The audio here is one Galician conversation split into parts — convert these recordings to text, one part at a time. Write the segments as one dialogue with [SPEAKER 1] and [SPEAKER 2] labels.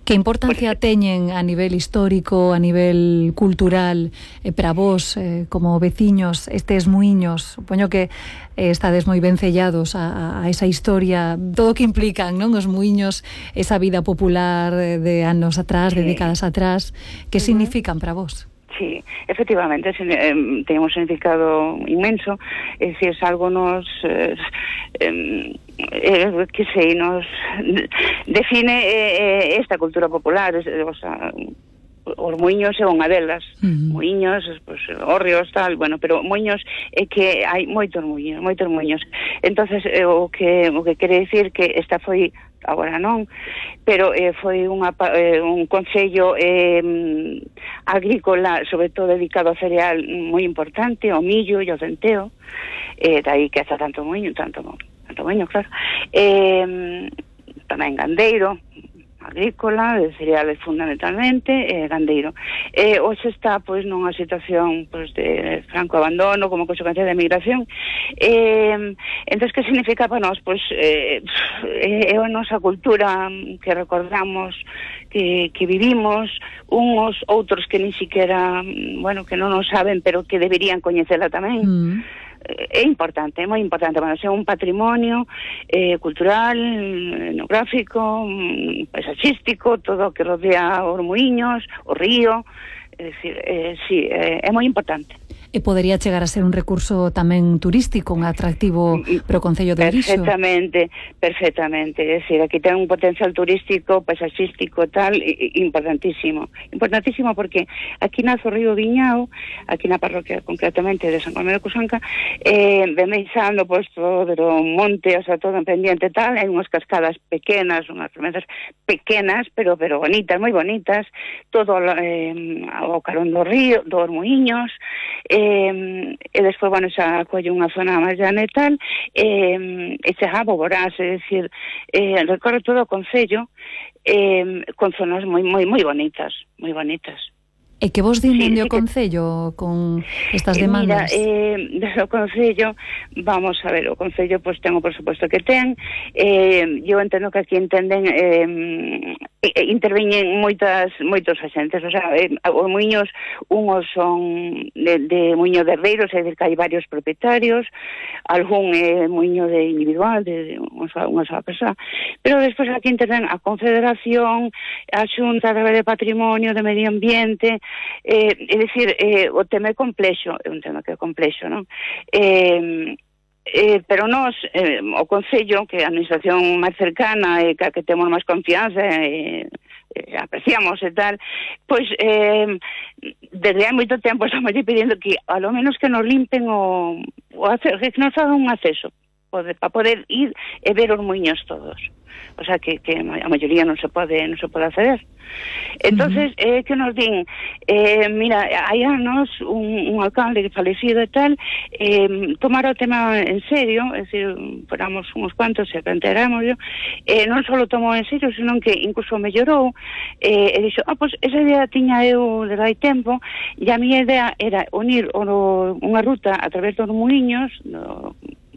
[SPEAKER 1] Que importancia teñen a nivel histórico, a nivel cultural, para vos, como veciños, estes muiños? Supoño que estades moi ben sellados a esa historia, todo o que implican, non? Os muiños, esa vida popular de anos atrás, de décadas atrás, que significan para vos?
[SPEAKER 2] Sí, efectivamente, ten un significado inmenso, é dicir, algo nos que sei, nos define esta cultura popular, o sea, os muiños é unha delas, muiños, pues, hórreos, tal, bueno, pero muiños é que hai moitos muiños. Entonces, o que quere dicir que esta foi, agora non, pero foi un concello agrícola, sobre todo dedicado ao cereal, moi importante, ao millo e ao centeo, dai que haza tanto muiño, claro. Tamén gandeiro, agrícola, de cereales fundamentalmente, gandeiro. Hoxe está, pois, nunha situación, pois, de franco abandono, como consecuencia da emigración. Entón, que significa para nós? Pois, é a nosa cultura que recordamos, que vivimos, uns, outros que nin siquiera, bueno, que non nos saben, pero que deberían coñecela tamén. É importante, é moi importante para ser un patrimonio cultural, etnográfico, paisaxístico, todo o que rodea os muiños, o río, é dicir, sí, é moi importante.
[SPEAKER 1] E podería chegar a ser un recurso tamén turístico, un atractivo para o concello de Orixo.
[SPEAKER 2] Perfectamente, é dicir, aquí ten un potencial turístico, paisaxístico, tal, importantísimo porque aquí nace o río Viñao, aquí na parroquia concretamente de San Colmedo de Cusanca, bemeixando pois todo o monte, o sea, todo en pendiente, tal, hai unhas cascadas pequenas, unhas fermenzas pequenas, pero bonitas, moi bonitas, todo ao carón do río, dos muiños, e despois, bueno, xa acolle unha zona máis llana e tal, e chega a Boborás, é dicir, recorre todo o concello con zonas moi bonitas,
[SPEAKER 1] E que vos din dende o concello con estas demandas?
[SPEAKER 2] Mira, desde o concello, vamos a ver, o concello pois ten o presupuesto que ten, eu entendo que aquí interveñen moitos agentes, o sea, os muiños, unhos son de muiño de herdeiros, é dicir, que hai varios propietarios, algún é muiño de individual, de unha sola persoa, pero despois aquí interven a Confederación, a Xunta de Patrimonio, de Medio Ambiente, é dicir, o tema é complexo, é un tema que é complexo, non? Pero nós, o Concello, que é a administración máis cercana e que temos máis confianza apreciamos e tal, pois desde hai moito tempo estamos pedindo que a lo menos que nos limpen que nos hagan un acceso para poder ir e ver os muiños todos, o sea que a maioría non se pode acceder. Entonces, que nos din, mira, hai anos un alcalde que falecido e tal, tomara o tema en serio, é dicir, foramos uns cuantos e planteáramos, non só tomou en serio, senón que incluso mellorou, e dixo, pois esa idea tiña eu desde hai tempo, e a miña idea era unir unha ruta a través dos muiños,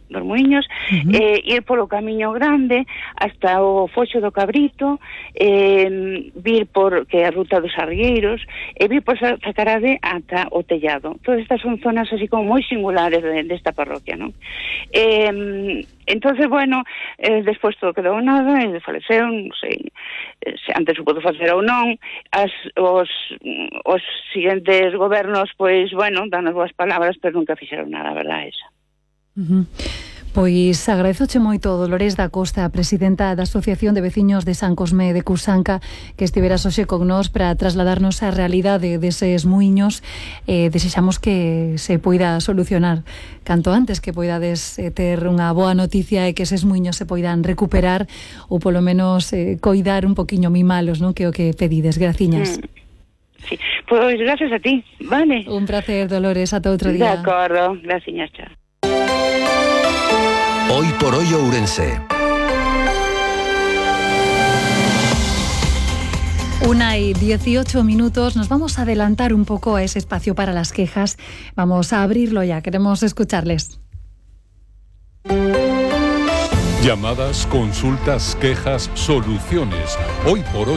[SPEAKER 2] ir polo Camiño Grande hasta o Foxo do Cabrito, vir por que é a ruta dos Arrieiros, e vir por Zacarade ata o Tellado. Todas estas son zonas así como moi singulares desta parroquia, non? Entonces, bueno, despois todo quedou nada, e faleceu, non sei se antes o pudo facer ou non, os seguintes gobernos, pois, bueno, dan as boas palabras, pero nunca fixeron nada, verdad, esa.
[SPEAKER 1] Pois agradezoche moito, Dolores da Costa, presidenta da Asociación de Veciños de San Cosme de Cusanca, que estiveras hoxe con nós para trasladarnos a realidade deses muiños. Desexamos que se poida solucionar canto antes, que poidades ter unha boa noticia e que eses muiños se poidan recuperar ou polo menos coidar un poquinho mimalos, non? Que o que pedides. Graciñas.
[SPEAKER 2] Sí, pois gracias a ti, vale?
[SPEAKER 1] Un placer, Dolores, ata outro día.
[SPEAKER 2] De acordo, graciñas, chao.
[SPEAKER 3] Hoy por hoy Ourense.
[SPEAKER 1] 1:18. Nos vamos a adelantar un poco a ese espacio para las quejas. Vamos a abrirlo ya, queremos escucharles.
[SPEAKER 4] Llamadas, consultas, quejas, soluciones. Hoy por hoy.